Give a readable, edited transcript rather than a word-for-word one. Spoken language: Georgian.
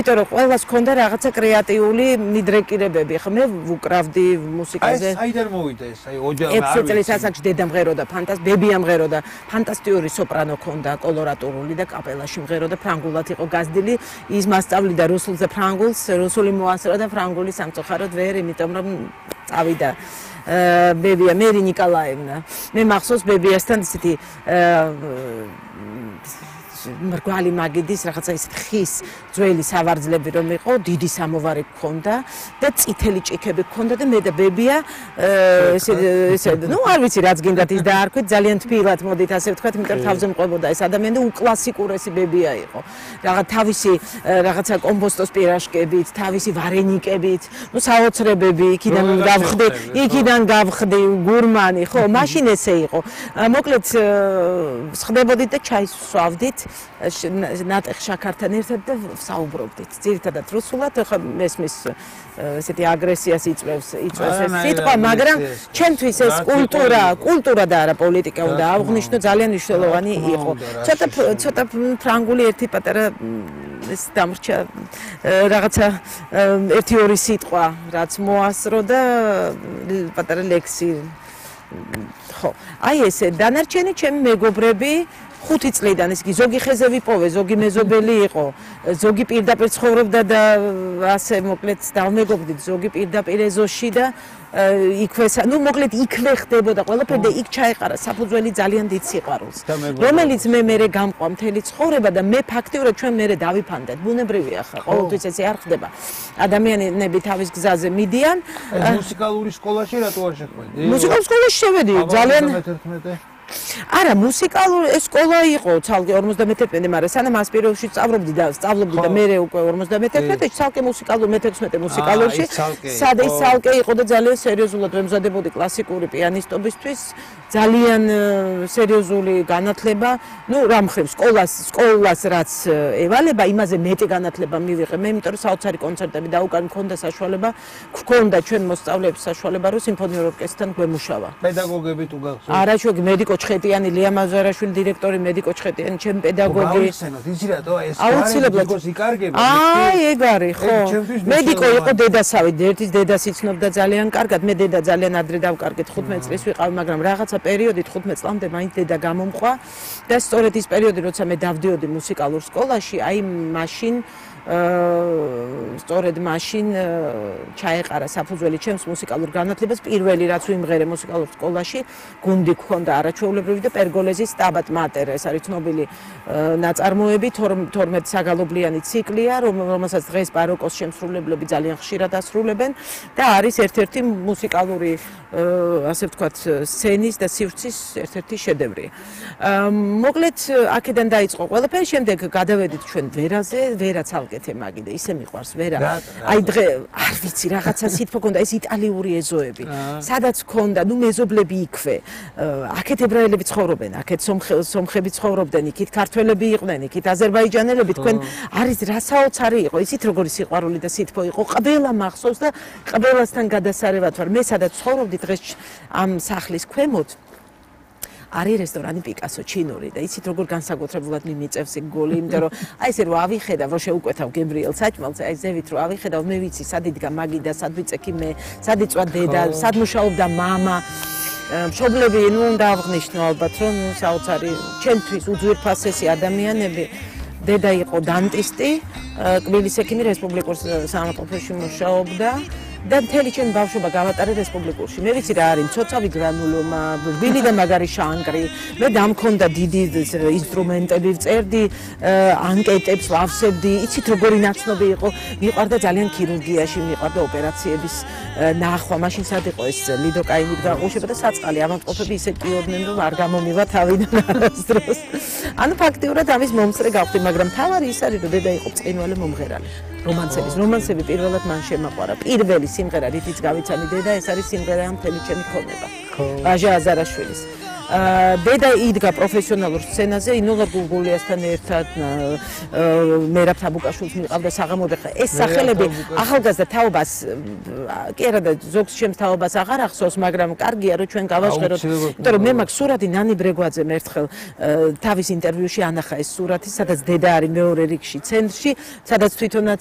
იმიტომ რომ ყველას ქონდა რაღაცა კრეატიული მიდრეკირებები. ხო მე ვუკრავდი მუსიკაზე. აი საიდან მოვიდა ეს? აი ოჯახი არ ვიცი. 6 წლის ასაკში დედა მღეროდა, ბებია მღეროდა, ფანტასტიკური სოპრანო ქონდა, კოლორატურული და კაპელაში მღეროდა, ფრანგულად იყო გაზრდილი. ის მასწავლიდა რუსულს და ფრანგულს, რუსული მოასწრო და ფრანგული სამწუხაროდ ვერ, იმიტომ რომ წავიდა ბებია მერი ნიკოლაევნა. მე მახსოვს ბებიასთან ისეთი მრგვალი მაგიდის რაღაცა ისეთ ხის ძველი სავარძლები რომ იყო, დიდი სამოვარი გქონდა და წითელი ჭიქები გქონდა და მე და ბებია ესე ნუ არ ვიცი რაც გინდათ ის დაარქვით ძალიან თბილად მოდით ასე ვთქვათ, იმიტომ რომ თავზე მყვებოდა ეს ადამიანი და უკლასიკურესი ბებია იყო. თავისი რაღაცა კომბოსტოს პირაშკებით, თავისი ვარენიკებით, ნუ საოცრებები იქიდან გავხდი გურმანი, ხო, მაშინ ესე იყო. მოკლედ ხდებოდით და ჩაის ვსვავდით ნატეხ შაქართან ერთად და საუბრობდით. ძირითადად რუსულად, ხა მესმის ესეთი აგრესიას იწვევს ეს სიტყვა, მაგრამ ჩემთვის ეს კულტურა და არა პოლიტიკა უნდა აღვნიშნო, ძალიან მნიშვნელოვანი იყო. ცოტა ფრანგული ერთი პატარა ეს დამრჩა რაღაცა 1-2 სიტყვა, რაც მოასწრო და პატარა ლექსი. ხო, აი ესე დანარჩენი ჩემი მეგობრები 5 წლიდან ის კი ზოგი ხეზე ვიპოვე, ზოგი მეზობელი იყო, ზოგი პირდაპირ ცხოვრობდა და ასე მოკლედ დავმეგობრდით, ზოგი პირდაპირ ეზოში და იქვე, ნუ მოკლედ იქვე ხდებოდა ყველაფერი და იქ ჩაეყარა საფუძველი ძალიან დიდ სიყვარულს, რომელიც მე გამყვა მთელი ცხოვრება და მე ფაქტიურად ჩვენ მე დავიფანდეთ. ბუნებრივია ხა, ყოველთვის ესე არ ხდება. ადამიანები თავის გზაზე მიდიან. მუსიკალური სკოლაში რატო არ შეხვედი? მუსიკალურ სკოლაში შევედი, ძალიან არა, მუსიკალური სკოლა იყო ცალკე 51, მაგრამ სანამ ასპიროვში სწავლობდი და მე უკვე 51-ში ცალკე მუსიკალური მე-16 მუსიკალურში სადაც ცალკე იყო და ძალიან სერიოზულად ვემზადებოდი კლასიკური პიანისტობისთვის, ძალიან სერიოზული განათლება, ნუ რა მხრივ სკოლას რაც ევალება, იმაზე მეტი განათლება მივიღე მე, იმიტომ რომ საოცარი კონცერტები დაუკან მქონდა საშუალება, გქონდა ჩვენ მოსწავლეებს საშუალება, რომ სიმფონიურ ორკესტრთან გვემუშავა. პედაგოგები თუ გახსოვთ? არა, ჩვენი მედიკო ჩხეტიანი, ლია მაზარაშვილი დირექტორი, მედიკო ჩხეტიანი, ჩემი პედაგოგი. იცი რატო ეს აუცილებლად იკარგება. აი, ეგ არის, ხო. მედიკო იყო დედასავით, ერთის დედას იცნობდა ძალიან კარგად, მე დედა ძალიან ადრე დავკარგეთ, 15 წლის ვიყავი, მაგრამ რაღაცა პერიოდით 15 წლამდე მაინც დედა გამომყვა და სწორედ ის პერიოდი, როცა მე დავდიოდი მუსიკალურ სკოლაში, აი მაშინ სწორედ მაშინ ჩაეყარა საფუძველი ჩემს მუსიკალურ განათლებას, პირველი რაც ვიმღერე მუსიკალურ სკოლაში, გუნდი გქონდა არაჩვეულებრივი და პერგოლეზის სტაბატ მატერა, ეს არის ცნობილი ნაწარმოები, 12 საგალობლიანი ციკლია, რომელსაც დღეს ბაროკოს შემსრულებლები ძალიან ხშირად ასრულებენ და არის ერთ-ერთი მუსიკალური ასე ვთქვათ, სცენის და სივრცის ერთ-ერთი შედევრი. მოკლედ აქედან დაიწყო ყველაფერი, შემდეგ გადავედით ჩვენ ვერაზე, ვერა ცალკეთე მაგიდა, ისე მიყვარს ვერა. აი დღე არ ვიცი, რაღაცა სიტყვა ქონდა, ეს იტალიური ეზოები. სადაც ქონდა, ნუ მეზობლები იქვე. აქეთ ებრაელები ცხოვრობენ, აქეთ სომხები ცხოვრობდნენ, იქით ქართველები იყვნენ, იქით აზერბაიჯანელები, თქვენ არის რა საოცარი იყო, იცით როგორი სიყვარული და სითბო იყო, ყველა მახსოვს და ყველასთან გადასარევად ვარ. მე სადაც ცხოვრობდი დღეს ამ სახლის ქვემოთ არის რესტორანი პიკასო ჩინური და იცით როგორ განსაკუთრებულად მიმიწევს იქ გოლი, იმიტომ რომ აი ესე რომ ავიხედავ, რომ შეუკვეთავ გემრიელ საჭმელს, აი ზევით რომ ავიხედავ, მე ვიცი სად იდგა მაგიდა, სად ვიწექი მე, სად იწვა დედა, სად მუშაობდა მამა. მშობლები, ნუ უნდა აღვნიშნო ალბათ, რომ საოცარი ჩემთვის უძვირფასესი ადამიანები. დედა იყო დანტისტი, კბილის ექიმი რესპუბლიკურ სამყოფოში მუშაობდა. და მთელი ჩემი ბავშვობა გავატარე რესპუბლიკურში. მე ვიცი რა არის მცოცავი გრანულომა, რბილი და მაგარი შანგრი. მე დამქონდა დიდი ინსტრუმენტები, ვწერდი ანკეტებს, ვავსებდი. იცით როგორი ნაცნობი იყო? მიყვარდა ძალიან ქირურგიაში, მიყვარდა ოპერაციების ნახვა. მაშინ სად იყო ეს ლიდოკაინით გაყუშება და საწყალი ავადმყოფები ისე ტიოდნენ, რომ არ გამომივა თავიდან არასდროს. ანუ ფაქტიურად ამის მომწრე გავხდი, მაგრამ თავარი ის არის, რომ დედა იყო ბრწყინვალე მომღერალი. რომანსები პირველად მან შემაყვარა. პირველი სიმღერა, რითიც გავიცანი დედა, ეს არის სიმღერა მთელი ჩემი ქონება. ვაჟა აზარაშვილის. დედა იდგა პროფესიონალურ სცენაზე, ინულა გულგულიასთან ერთად, მერაბ თაბუკაშვილს მიყავდა საღამოები. ეს სახელები ახალგაზრდა თაობას კი არა და ზოგს ჩემს თაობას აღარ ახსოვს, მაგრამ კარგია რომ ჩვენ გავაჟღეროთ. იმიტომ რომ მე მაქვს სურათი ნანი ბრეგვაძემ ერთხელ თავის ინტერვიუში ანახა ეს სურათი, სადაც დედა არის მეორე რიგში ცენტრში, სადაც თვითონაც